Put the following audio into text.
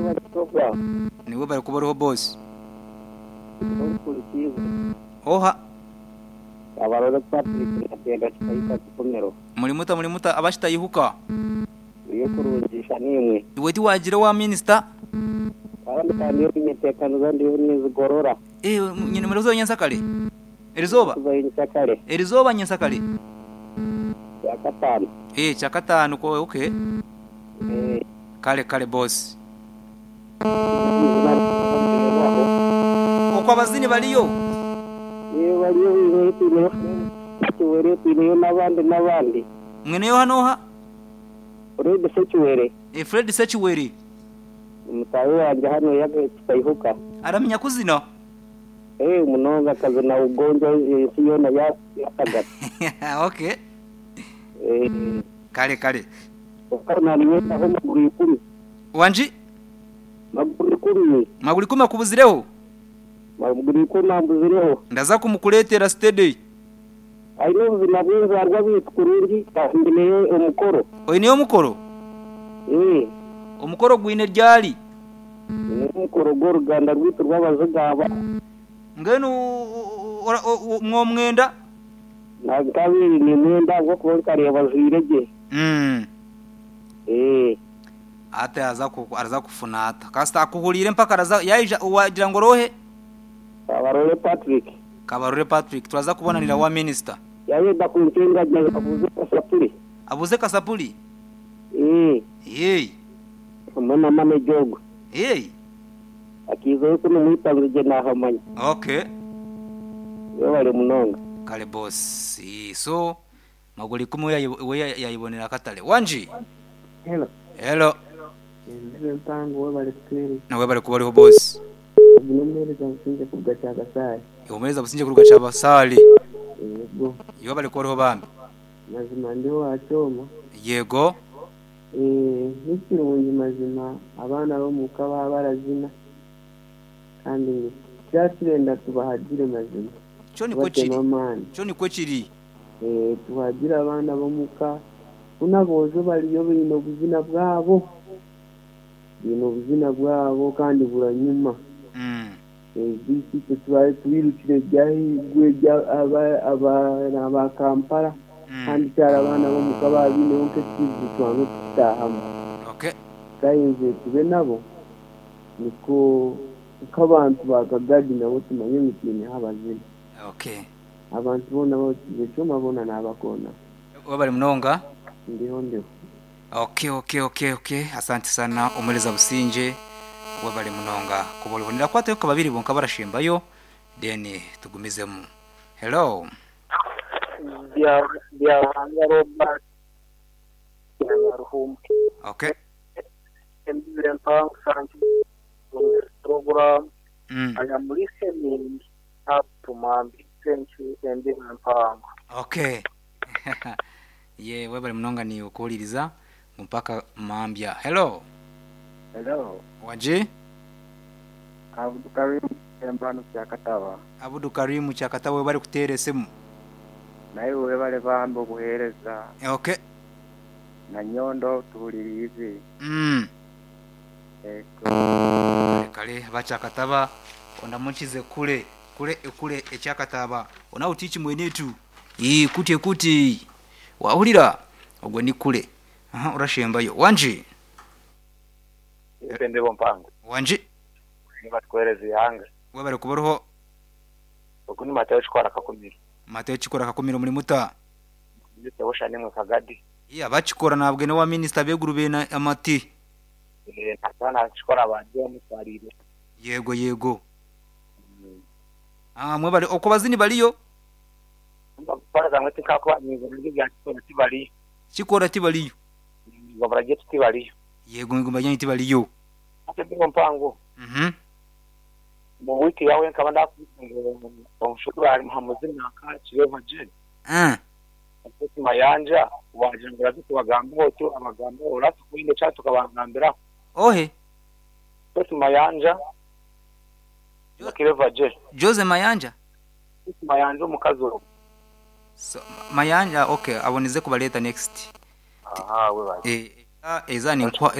Webale program. Niiwe bari kuba oriho boss. Nkuhurikiize. Oha? Kabarole Patrick Natenda Kitahika Kikomero. Muri muta muri muta aba Kitayihuka? Turiyo kurungi sha naimwe. Iwe tiwagira owa minisita? Kandi ka ndiyo ninyeteekaniza ndiyo ninzigorora. Eh, nyine murikuzayo nyentsakare? Erizooba? Kuzayo nyentsakare. Erizooba nyentsakare? Kyakataano. Eh, kyakataano ko okay. Eh. Kale kale boss. Okwo abazini bariyo? Eeh bariyo baineyo twineyo Ssekiwere twineyo n'abandi n'abandi. Mwineyo oha n'oha? Fred Ssekiwere. Eeh Fred Ssekiwere. Ni mutaahi wangye hanu Kitaihuka. Aramanya kuzina? Eeh munonga akazina Ugonjwa ensi yoona yatagata. Okay. Kale kale. Kwonka naninyendaho maguru ikumi. Wangi? Maguru ikumi. Maguru ikumi akubuzireho? Maguru ikumi ambuzireho. Ndaza kumukureetera steady. Aine obuzina bw'enzaarwa beitu kurungi kandi nyineyo omukoro. Oineyo omukoro? Ee. Omukoro gwine ryari? Nyineyo omukoro gw'oruganda rweitu rw'Abazigaba. Mbwenu mwomwenda? Nkabaire nimwenda ahabw'okuba nkareeba ajwaire gye. Ee. Hati araza kufuna ata? Kasita akuhuriire mpaka araza yaija wagira ngu oroohe? Kabarole Patrick. Kabarole Patrick turaza kubonanira wa minisita. Yayenda kuncenga abuuze kasapuri. Abuuze kasapuri? Ee. Eei. Hamwe na manager ogwe. Eei. Akaizayo kunu omwita ngu naahamanya. Okay. Webare munonga. Kale boss. So maguru ikumi we yayibonera akatale. Wangi? Hello. Hello. Entebe mpango webale kutuhereza. Nawe webale kuba oriho boss. Ogu n'omuheereza Busingye kuruga Kyabasale. Omuheereza Busingye kuruga Kyabasale. Yego. Webale kuba oriho bambi. Mazima ndi owa Kyoma. Yego. Eeh nikirungi mazima abaana b'omuka baaba barazina kandi tukira turenda tubahagire mazima Kyo nikwo kiri. tubatemu amaani. Kyo nikwo kiri. Eeh tuhagire abaana b'omuka hoona aboojo bariyo baine obuzina bwabo, baine obuzina bwabo kandi buranyuma. Beitu itwe tubaire twirukire eby'ahaiguru abaana ba Kampala kandi kyari abaana b'omuka baaba baineho nk'ekizibu twange kukitaahamu. Tukayenzire tube nabo nikwo nk'abantu ba Kagadi nabo tumanye ngu twineho abazini. Abantu boona abahurikiize Kyoma boona naabakoona. Webale munonga. Ndiho ndiho. Ok ok ok ok asante sana omuhereza Busingye webale munonga kuba oriho. Nirakwatayo nka babiri bonka abarashembayo then tugumizemu. Hello. Byaruhanga Robert Nyaruhumbi. Ok. Embibo empango thank you for this program. I am listening up to Mambi. Thank you Embibo empango. Ok. Yee webale munonga niiwe kuhuririza ngu mpaka mambya. Hello. Hello. Wangi? Abudu Karim Embano Kyakataba. Abudu Karim Kyakataba webale kuteera esimu. Naiwe webale bambi obuhereza. Ok. Na Nyondo tuhuririize. Ego. Kale kale aba Kyakataba ondamukize kule kule ekule ekyakataba ona utiiki mwenetu ii kuti ekuti wahurira ogwo ni kule aha orashembayo wangi. Itwe Embibo Mpango. Wangi. Nibatukuhereza eihanga. Webale kuba oriho. Ogu ni Matayo Kikora Kakumiro. Matayo Kikora Kakumiro muri muta? Ndi Bushanimwe Kagadi. Ii abakikora nabwe n'owa minisita ab'eiguru beine amati. Eeh nata nakikora bangye bamutwariire. Yego yego. Aah mwebale okwo abazini bariyo? Mbaraza tinkakuba nibura rye Kikora tibariyo. Kikora tibariyo. Ibura ryaitu tibariyo. Yego eigumba ryanyu tibariyo. Hati Embibo Mpango. Omu wiiki yaawe nkaba ndaakubuuza ngu omushukuru ari muha muzina nka Kireeva Jane? Jose Mayanja waagira ngu oraza kubagambaho oti abagambeho orabaasa kuba oine eki tukabagambiraho. Ohe? Jose Mayanja na Kireeva Jane. Jose Mayanja? Jose Mayanja omukazi ogwo. So, Mayanja okay abonize kubareeta next. Aha webare. Eeh eza ninkuha.